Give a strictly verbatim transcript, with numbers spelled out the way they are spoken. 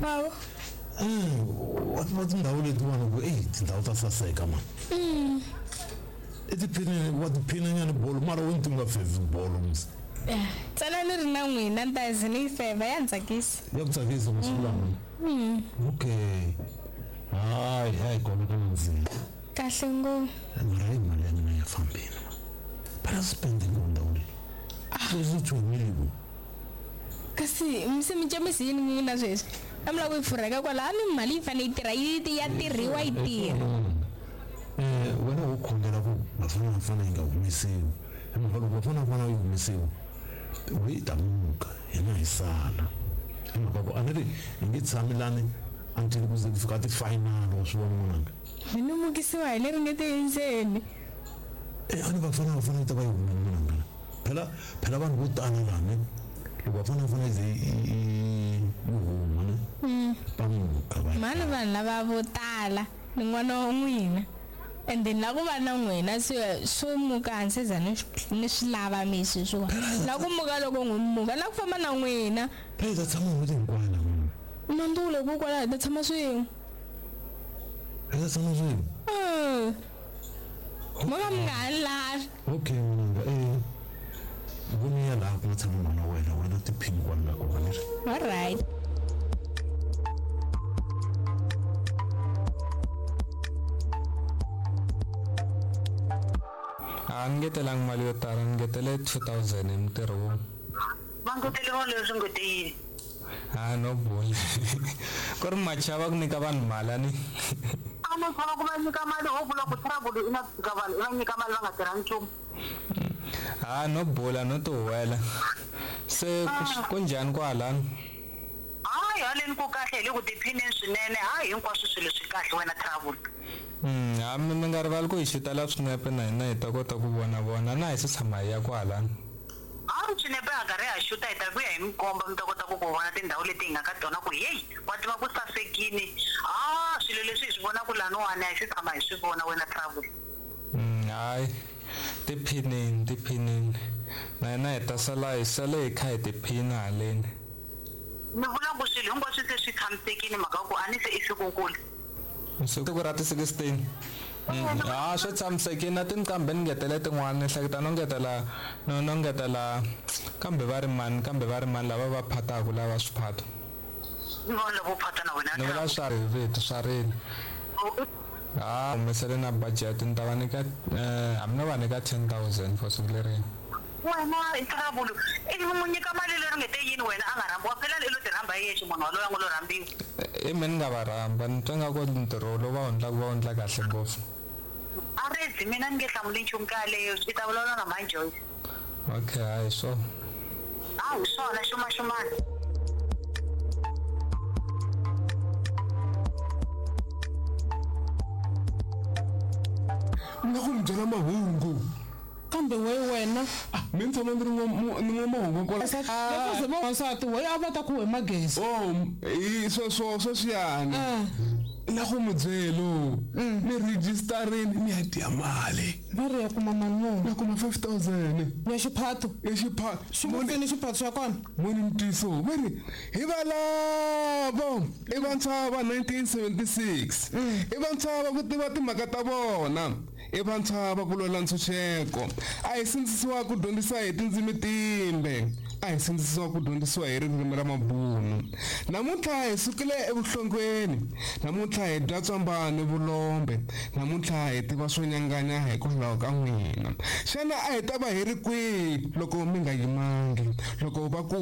Baba. Eh, wa tiva tindhawu letiwani ku eyi tindhawu ta saseka mani. Mm. I tiphina wa tiphinanyana bolo mara wo ni ti nga fevhi bolo mos. Tsala ni ri na n'wina ni ta ze ni yi fevha ya ni tsakisa. Ya ku tsakisa masiku lama. Mm. Okay. Hayi hayi kona ka nandziha. Kahle ngopfu. Mara hi mali ya mina ya fambini ma. Phela spending ko ndhawu leyi. Sweswi chumile ku. Kasi se mi cemisi yini n'wina sweswi? A mi lava ku yi pfurheka kwala a ni mali yi fanele yi tirha yi ya tirhiwa yi tirha. Eh wena wo khongela ku Bafana Bafana yi nga humesiwi. Hi mhaka loko Bafana Bafana yi humesiwa we ta muka hina hi sala. Hi mhaka ku a ni ri hi nge tshami lani until ku ze ku fika ti-final wa swi vona n'wananga. Mi ni mukisiwa hi leri nge te endzeni. Eh a ni Bafana Bafana yi ta va yi humile n'wananga. Phela phela vanhu vo tala lani loko Bafana Bafana yi ze yi yi huma ne va muka va. Mani vanhu lava vo tala ni n'wana wa n'wina. And then la ku va na n'wina swi swo muka hansi za ni ni swi lava mi sweswiwa. La ku muka loko n'wi muka la ku famba na n'wina. Phela hi ta tshama n'hweti hinkwayo na n'wina. Mandule ku kwala hi ta tshama swin'we. Hi ta tshama swin'we. Mm. Mo ka mi nga ha ni lavi. Okay n'wananga eh voni ya laha ku nga tshama n'wana wa wena wena tiphini kwala nga kona ni ri. Alright. A ni ngetelangi mali yo tala ni ngetele two thousand hi mintirho wun'we. Va ngeteleriwa leswi nge te yini? Ha no bula. Ku ri machava ku nyika vanhu mali a ni. A no chava ku va nyika mali ho vula ku trouble i na fika vanhu i va nyika mali va nga tirha nchumu. Ha no bula no ti huwela. Se ku njhani kwalano? Hayi haleni ku kahle hi le ku tiphineni swinene hayi hinkwaswo swilo swi kahle wena trouble. Mm, ha mi mi nga rivali ku hi xitela swinepe na hina hi ta kota ku vona vona na hi se tshama hi ya kwalano. Hayi swinepe ha karhi ha xuta hi ta vuya hi mi komba mi ta kota ku ku vona tindhawu leti hi nga ka tona ku heyi wa tiva ku sasekini ha swilo leswi hi swi vonaka laniwani a hi se tshama hi swi vona wena trouble. Mm, hayi tiphineni tiphineni na hina hi ta sala hi sale hi kha hi tiphina haleni. Ni vula ku swilo hinkwaswo se swi tshamisekile mhaka ku a ni se i sikunkulu. Siku ra ti sixteen. Ha swi tshamisekile na tinqambi ni ngetele tin'wana ni hleketa no ngetela no no ngetela kambe va ri mani kambe va ri mani lava va phataka lava swiphato. Ni vona lavo phata na wena. Ni vula swa ri vito swa rini. Ha humesele na budget ni ta va nyika eh hambi no va nyika ten thousand for siku leriya. Wena i trouble i n'wi nyika mali leri nge te yini wena a nga rhambiwa phela i lo ti rhamba hi yexe munhu waloye a ngo lo rhambiwa. I mina ni nga va rhamba ni twa nga ku ntirho lowu va wu endlaka va wu endla kahle ngopfu. A redzi mina ni nge hlamuli nchumu ka yaleyo i ta vulavula na mhani Joyce. Okay hayi swona. Hayi swona xumaxumani. Ni nga ku mi byela mahungu. Kambe we wena mi ni tshama ni ri ni n'wa mahungu kwala. Loko va wansati we a va ta ku hema gezi. Oh hi sweswo sweswiyani. Na ku mi byelo ni registerini ni ya dya mali. Va ri ya kuma mali muni? Ya kuma five thousand. Ya xiphato? Ya xiphato. Xi pfuni xiphato xa kona? Moni ntiyiso va ri hi valavo i vantshwa va nineteen seventy-six. I vantshwa va ku tiva timhaka ta vona. I vantshwa va ku lwela ntshunxeko. A hi sindzisiwa ku dyondzisa hi tindzimi timbe. A hi sindzisiwa ku dyondzisiwa hi ririmi ra mabunu. Namuntlha hi sukile evuhlongweni. Namuntlha hi dya tswamba ni vulombe. Namuntlha hi tiva swo nyanganya hikwalaho ka n'wina. Xana a hi ta va hi ri kwihi loko mi nga yimangi? Loko va ku